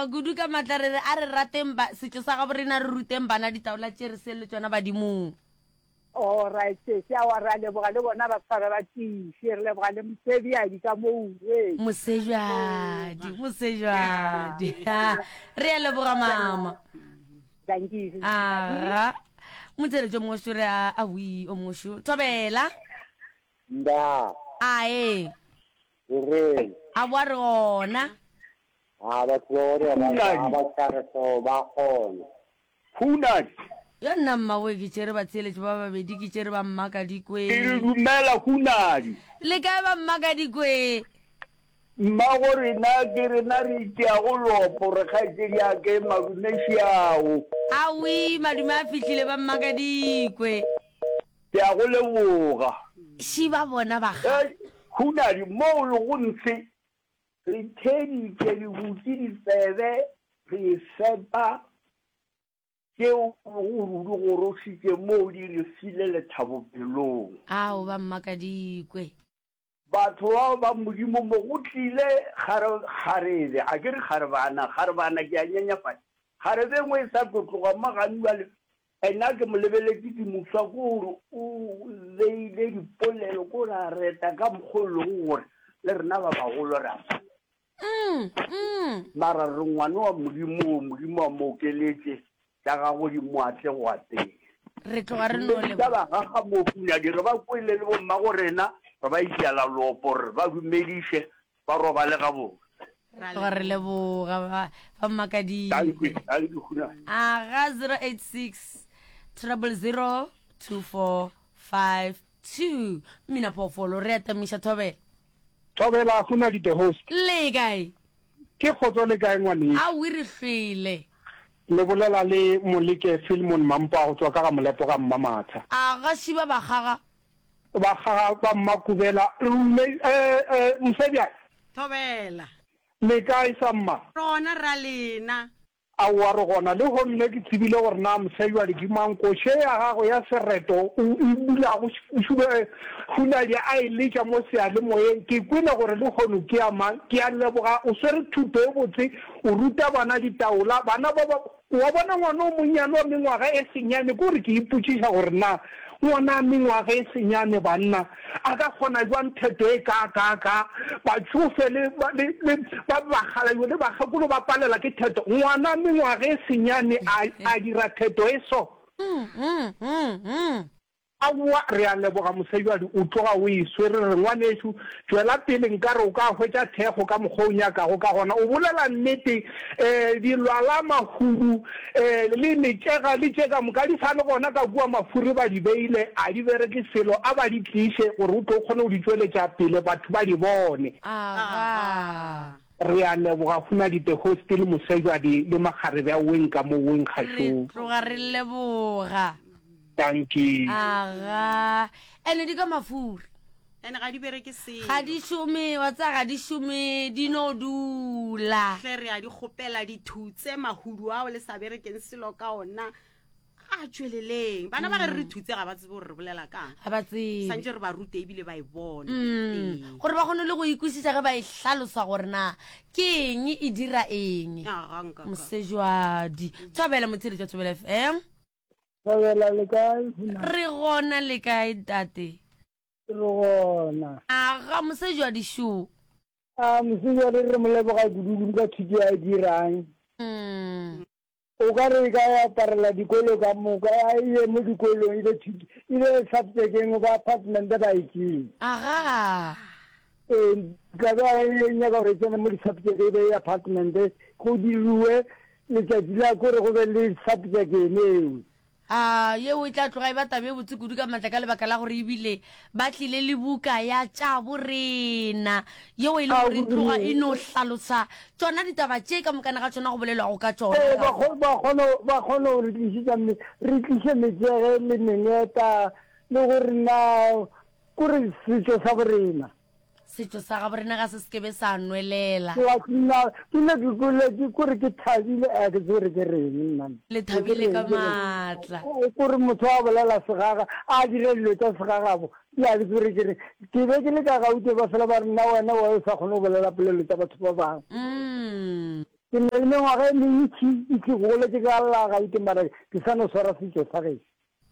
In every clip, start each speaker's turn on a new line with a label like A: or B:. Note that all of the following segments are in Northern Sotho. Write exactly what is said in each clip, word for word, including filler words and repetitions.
A: Kudu ka maatla re re a re rateng ba setšo sa gabo rena re ruteng bana ditaola tše re seng le tšona badimong.
B: Alright sesi aowa re a leboga le bona ba tshware ba tiiše re leboga le Mosebjadi ka mo Uwe.
A: Mosebjadi Mosebjadi re a leboga mama.
B: Dankie sesi.
A: Aga motheletši o mongwe šo re a awi o mongwe šo thobela.
C: Nda.
A: Ae.
C: Re reng?
A: A boa re gona.
C: A batho ba gore ba
D: Hunadi.
C: ba tšhare so ba kgona.
D: Hunadi.
A: Yo nna mmawe ke tšere batheeletši ba babedi ke tšere ba Mmakadikwe.
D: Ke re dumela Hunadi.
A: Le kae ba Mmakadikwe?
D: Mmago rena ke rena re itiago lopo re kgaetšedi ya ke madume šiao.
A: Awi madume a fihlile ba Mmakadikwe.
D: Ke a go leboga.
A: Ši ba bona ba ga.
D: Hei Hunadi mo o lego ntshe Re theeditše, re butše ditsebe, re ifepa tšeo o bego o di gorošitše moo di re file lethabo pelong.
A: Ao, ba mmakadikwe.
D: Batho bao ba Modimo mo go tlile kgare, kgarebe, a ke re kgarebana, kgarebana, ke a nyenyefatša, kgarebe e nngwe e sa tlo tloga mo gane bjale, Ena ke mo lebeletše ke mofsa ko gore o beile dipolelo ko gore a reta ka mokgwa o lego gore le rena ba bagolo re a palelwa. Mara re ngwane wa Modimo, Modimo a mo okeletše tša gagwe di mo atle go ateng.
A: Re tloga re no
D: Dumedisa
A: leboga.
D: ba ga Mohunyadi re ba kwele le bommago rena re ba itiela lopo re ba dumediše ba robale gabotse.
A: Ra tloga re leboga ba ba
D: Thank
A: Mmakadikwe.
D: you, thank you, Hunadi.
A: Aga zero eight six treble zero two four five two. Mmina phoofolo re atamiša thobela.
E: Thobela Hunadi the host.
A: Le kae?
E: Ke kgotso le kae ngwanešu?
A: Aowi re hlwele.
E: Le bolela le Moleke Philemon Mampa go tšwa ka ga Molepo ga Mmamatha.
A: Aga šiba bakgaga.
E: Bakgaga ba Mmakubela. Mme eh eh Mosebjadi.
F: Thobela.
E: Le kae sa mma?
F: Re gona ra lena.
E: Aowa re gona. Lehono ne ke tsebile gore na Mosebjadi ke mang. Koše ya gagwe ya sereto o e bulago Hunadi a e letša mo seyalemoyeng. Ke kwele gore lehono ke ya mang. Ke a leboga o swere thuto e botse o ruta bana ditaola. Bana ba ba Wa bona ngwana o monnyane wa mengwaga e senyane, ke gore ke ipotšiša gore na ngwana a mengwaga e senyane banna a ka kgona bjang theto e kaakaakaa, batšofe le, le, le ba bakgalabje le bakgekolo ba palela ke theto, ngwana mengwaga e senyane a, a dira theto e so. Aowa, re a leboga mosejwadi, o tloga o e swere. Re re, Ngwanešu, tšwela pele, nkare o ka hwetša thekgo ka mokgwa o nyakago ka gona. O bolela nnete. E, dilwala, mahudu, e, le metšega, le tše ka moka di sa le gona ka kua, mafuri ba di beile, a di bereke selo, a ba di tliše gore o tlo kgone go di tšweletša pele batho ba di bone.
A: Agaa.
E: Re a leboga Hunadi the host le Mosejwadi le makgarebe a weng ka mo weng
A: Re
E: kgašong.
A: tloga re leboga.
E: Dankie.
A: Aga. Ene di ka mafuri.
F: Ene ga di bereke selo.
A: Ga di šome, wa tseba ga di šome, di no dula.
F: Hle re a di kgopela dithutse mahudu ao le sa berekeng selo ka ona. A tšweleleng. Bana ba ge re re thutse ga ba tsebe gore re bolela kang.
A: Ga ba tsebe.
F: Santše re ba rute ebile ba e bone.
A: Mm.
F: Ee.
A: Gore ba kgone le go ikwešiša ge ba e hlalosa gore na ke eng e dira eng.
F: Aga nka ka.
A: Mosejwadi. Thobela motheeletši wa Thobela F M.
B: Thobela le kae?
A: Re gona le kae ntate?
B: Re gona.
A: Aga mosejwadi šo.
B: A mosejwadi re mo leboga kudu-kudu ka thuto ya e dirang.
A: Mm.
B: O ka re e ka aparela dikolo ka moka, a e ye mo dikolong, e be thuto, e be subject-eng ba apartment ba e tšee.
A: Aga.
B: Ee, ka be a e nyaka gore e tsene mo di-subject e be e apartment, go diriwe letšatši la kore go be le subject ene eo.
A: A yeo e tla tloga e ba taba e botse kudu ka matla ka lebaka la gore ebile ba tlile le buka ya tša borena yeo e le gore e tloga e no hlalosa tšona ditaba tše ka mokana ga tšona go bolelwago ka tšona.
B: Ee, ba kgo-, ba kgona, ba kgona go re tlišetša me-, re tliše metšege le mengeta le gore na kore setšo sa borena.
A: Setšo sa gabo rena ga se se ke be sa nwelela.
B: Wa nna ke ne ke kwele ke kore ke thabile a ke tsebe gore ke reng nna.
A: Le thabile ka maatla.
B: Kore motho a bolela segaga a dira dilo tša segagabo ke a ke tsebe gore ke reng. Ke be ke le ka Gauteng ba fela ba re nna wena wa o sa kgone go bolela polelo tša batho ba bangwe.
A: Mm.
B: Ke na le mengwaga e mentši e ke goletše ka la Gauteng mara ke sa no swara setšo sa gešo.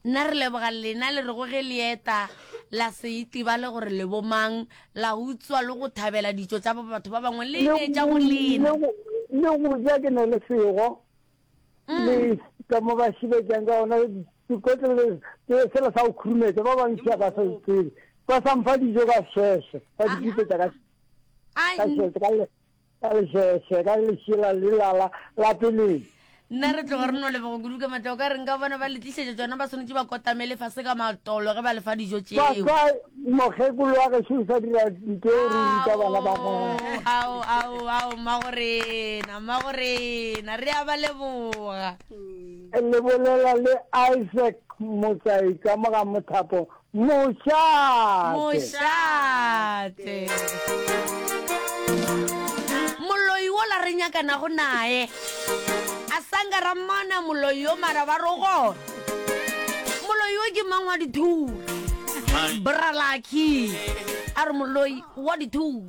A: Nna re leboga lena le rego ge le eta la se itebale gore le bo mang, la utswa le go thabela ditšo tša batho ba bangwe le
B: Le
A: ne tša bo lena.
B: le go le go ja ke na le sego le ka mo ba šibetšang ka gona dikotlelo sela sa go khurumetša ba bantši ga ba sa se tsebe ba sa mpha dijo ka šeshe ba di pipetša ka ka šeshe ka le Ka lešeše, ka lešela lela la, la peleng.
A: Nna re tloga re no leboga kudu ka matla. O ka re nka bona ba le tlišetša tšona, ba swanetše ba kotamele fase ka matolo ge ba le fa dijo tšeo.
B: Papa, mokgekolo wa gešo o sa dira ntho eo re ruta bana ba gagwe.
A: Ao, ao, ao, mmagorena, mmagorena, re a ba leboga.
B: Le bolela le Isaac Motsai ka mo ga Mothapo Mošate.
A: Mošate. Moloi wola re nyakanago naye. A sanka ra mmona moloi yo mara ba re o gona. Moloi yo ke mang wa dithuri? Bra Lucky a re moloi wa dithuri.